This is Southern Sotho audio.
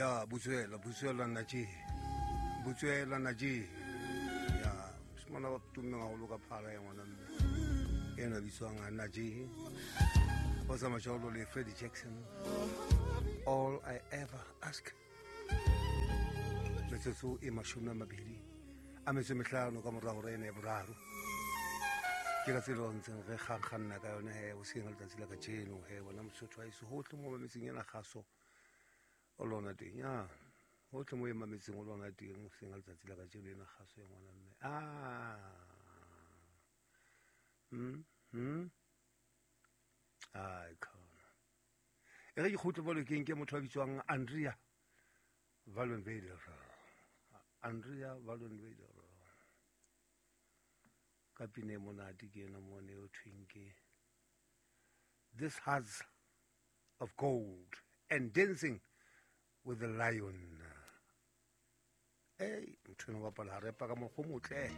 Ya butswela, butswela nna tje, butswela nna tje. Ya mosimane wa tummeng haholo ka phala ya ngwana mme ena bitswang nna tje, o tsamaya jalo le Freddie Jackson, All I Ever Ask. Metsotso e 25 ka mora hora ena ya boraro, ke ka tsela o ntseng re kgakganna ka yone he hoseng letsatsi la kajeno he. Bona Mosotho wa eso, hohle mo mametseng ena kgaso o lona teng, ya hohle mo e mametseng o lona teng hoseng letsatsi la kajeno ena kgaso ya ngwana mme. Ai khona e re ke kgutle bolokeng, ke motho a bitswang Andrea Wallenweiler, Andrea Wallenweiler ka pina e monate ke ena mone o thweng ke This Hearts of Gold and Dancing with the Lion. Ei, motho eno bapala harepa ka mokgwa o motle.